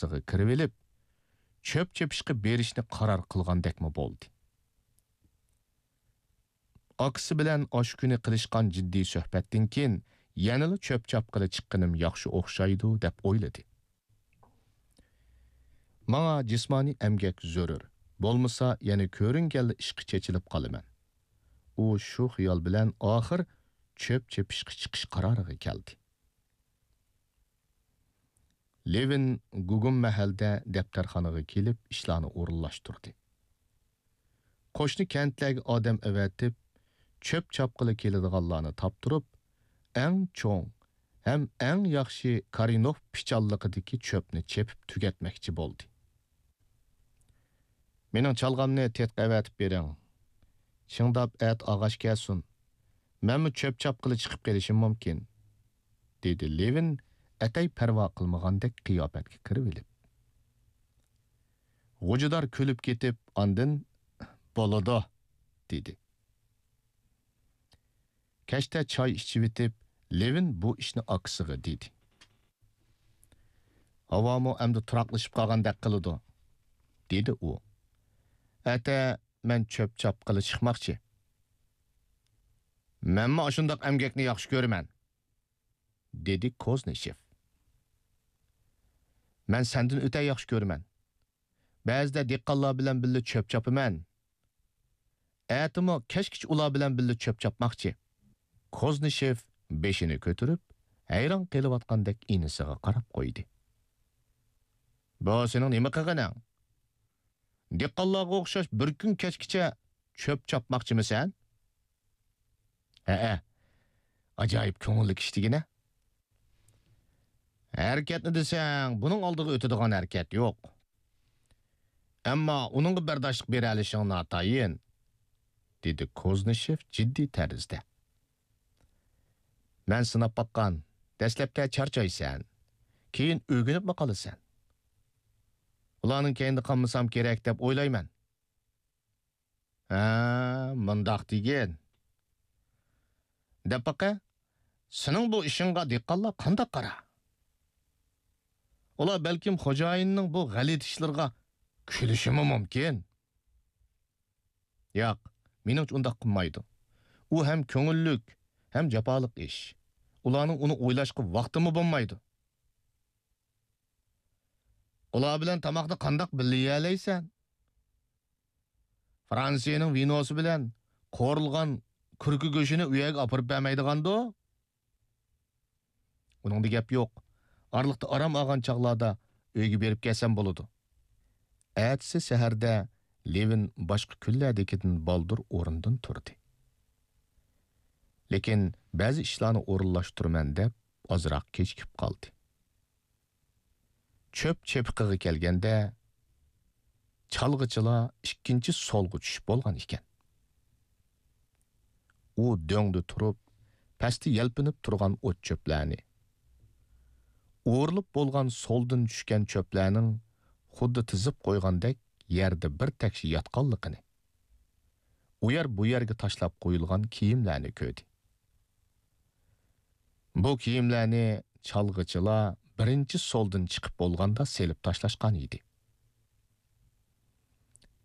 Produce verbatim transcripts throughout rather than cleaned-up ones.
ئارىسىغا كىرىۋېلىپ، چۆپ چېپىشقا بېرىشنى قارار قىلغاندەكمۇ بولدى. ئاكىسى بىلەن ئاشۇ كۈنى قىلىشقان جىددىي سۆھبەتتىن كېيىن يەنىلا چۆپ چاپقىلى چىققىنىم ياخشى ئوخشايدۇ، دەپ ئويلىدى. ماڭا جىسمانىي ئەمگەك زۆرۈر، بولمىسا يەنە كۆرۈنگەنلا ئىشقا چېچىلىپ قالىمەن. ئۇ شۇ خىيال بىلەن ئاخىر چۆپ چېپىشقا چىقىش قارارىغا كەلدى. لېۋىن گۇگۇم مەھەلدە دەپتەرخانىغا كېلىپ ئىشلارنى ئورۇنلاشتۇردى. قوشنا كەنتلەرگە ئادەم ئەۋەتىپ، چۆپ چاپقىلى كېلىدىغانلارنى تاپتۇرۇپ، ئەڭ چوڭ ھەم ئەڭ ياخشى كارىنوف پىچانلىقىدىكى چۆپنى چېپىپ تۈگەتمەكچى بولدى. مېنىڭ چالغامنى تېتىققا ئەۋەتىپ بېرىڭ. شىڭداپ ئەتە ئاغاچ كەلسۇن. مەنمۇ چۆپ چاپقىلى چىقىپ قېلىشىم مۇمكىن، دېدى لېۋىن ئەتەي پەرۋا قىلمىغاندەك قىياپەتكە كىرىۋېلىپ. غوجىدار كۈلۈپ كېتىپ، ئاندىن، بولىدۇ، دېدى. كەچتە چاي ئىچىۋېتىپ، لېۋىن بۇ ئىشنى ئاكىسىغا دېدى. ھاۋامۇ ئەمدى تۇراقلىشىپ قالغاندەك قىلىدۇ، دېدى ئۇ. ئەتە مەن چۆپ چاپقىلى چىقماقچى. مەنمۇ ئاشۇنداق ئەمگەكنى ياخشى كۆرىمەن، دېدى كوزنىشېف. مەن سەندىن ئۆتە ياخشى كۆرىمەن. بەزىدە دېھقانلار بىلەن بىللە چۆپ چاپىمەن. ئەتىمۇ كەچكىچە ئۇلار بىلەن بىللە چۆپ چاپماقچى. كوزنىشېف بېشىنى كۆتۈرۈپ، ھەيران قېلىۋاتقاندەك ئىنىسىغا قاراپ قويدى. بۇ سېنىڭ نېمە قىلغىنىڭ؟ دېھقانلارغا ئوخشاش بىر كۈن كەچكىچە چۆپ چاپماقچىمۇ سەن؟ ھەئە، ئاجايىپ كۆڭۈللۈك ئىش دېگىنە. ھەرىكەتنى دېسەڭ، بۇنىڭ ئالدىغا ئۆتىدىغان ھەرىكەت يوق. ئەمما ئۇنىڭغا بەرداشلىق بېرەلىشىڭ ناتايىن، دېدى كوزنىشېف جىددىي تەرزدە. مەن سىناپ باققان، دەسلەپتە چارچايسەن، كېيىن ئۆگىنىپمۇ قالىسەن. ئۇلارنىڭ كەينىدە قالمىسام كېرەك دەپ ئويلايمەن. ھە، مۇنداق دېگىن. دەپ باقە، سېنىڭ بۇ ئىشىڭغا دېھقانلار قانداق قارا؟ ئۇلار بەلكىم خوجايىننىڭ بۇ غەلىتە ئىشلىرىغا كۈلۈشىمۇ مۇمكىن. ياق، مېنىڭچە ئۇنداق قىلمايدۇ. ئۇ ھەم كۆڭۈللۈك، ھەم جاپالىق ئىش. ئۇلارنىڭ ئۇنى ئويلاشقا ۋاقتىمۇ بولمايدۇ. ئۇلار بىلەن تاماقنى قانداق بىللە يېيەلەيسەن؟ فرانسىيەنىڭ ۋىنوسى بىلەن قورۇلغان كۈركە گۆشىنى ئۆيگە ئاپىرىپ بەرمەيدىغاندۇ؟ ئۇنىڭدا گەپ يوق. ئارىلىقتا ئارام ئالغان چاغلاردا ئۆيگە بېرىپ كەلسەم بولىدۇ. ئەتىسى سەھەردە لېۋىن باشقا كۈنلەردىكىدىن بالدۇر ئورنىدىن تۇردى. لېكىن بەزى ئىشلارنى ئورۇنلاشتۇرىمەن دەپ ئازراق كېچىكىپ قالدى. چۆپ چېپىقىغا كەلگەندە، چالغىچىلار ئىككىنچى سولغا چۈشۈپ بولغان ئىكەن. ئۇ دۆڭدە تۇرۇپ، پەستە يەلپۈنۈپ تۇرغان ئوت-چۆپلەرنى، ئورۇلۇپ بولغان سولدىن چۈشكەن چۆپلەرنىڭ خۇددى تىزىپ قويغاندەك يەردە بىر تەكشى ياتقانلىقىنى، ئۇ يەر بۇ يەرگە تاشلاپ قويۇلغان كىيىملەرنى كۆردى. بۇ كىيىملەرنى چالغىچىلار بىرىنچى سولدىن چىقىپ بولغاندا سېلىپ تاشلاشقان ئىدى.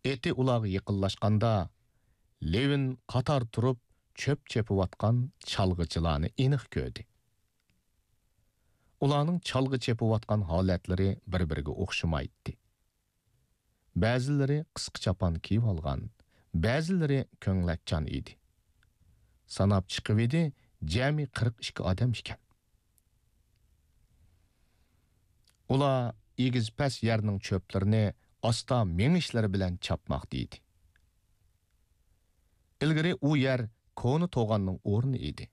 ئېتى ئۇلارغا يېقىنلاشقاندا، لېۋىن قاتار تۇرۇپ چۆپ چېپىۋاتقان چالغىچىلارنى ئېنىق كۆردى. ئۇلارنىڭ چالغا چېپىۋاتقان ھالەتلىرى بىر-بىرىگە ئوخشىمايتتى. بەزىلىرى قىسقا چاپان كىيىۋالغان، بەزىلىرى كۆڭلەكچان ئىدى. ساناپ چىقىۋىدى، جەمئىي قىرىق ئىككى ئادەم ئىكەن. ئۇلار ئېگىز-پەس يەرنىڭ چۆپلىرىنى ئاستا مېڭىشلىرى بىلەن چاپماقتا ئىدى. ئىلگىرى ئۇ يەر كونا توغاننىڭ ئورنى ئىدى.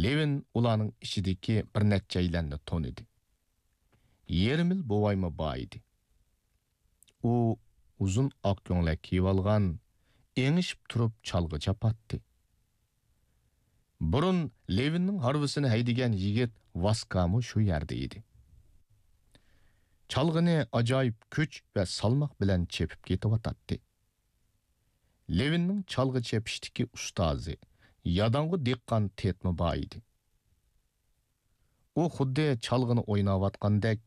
لېۋىن ئۇلارنىڭ ئىچىدىكى بىر نەچچەيلەننى تونۇدى. يېرىم يىل بوۋايمۇ بار ئىدى. ئۇ ئۇزۇن ئاق كۆڭلەك كىيىۋالغان، ئېڭىشىپ تۇرۇپ چالغا چاپاتتى. بۇرۇن لېۋىننىڭ ھارۋىسىنى ھەيدىگەن يىگىت ۋاسكامۇ شۇ يەردە ئىدى. چالغىنى ئاجايىپ كۈچ ۋە سالماق بىلەن چېپىپ كېتىۋاتاتتى. لېۋىننىڭ چالغا چېپىشتىكى ئۇستازى، ياداڭغۇ دېھقان تېتمۇ بار ئىدى. ئۇ خۇددى چالغىنى ئويناۋاتقاندەك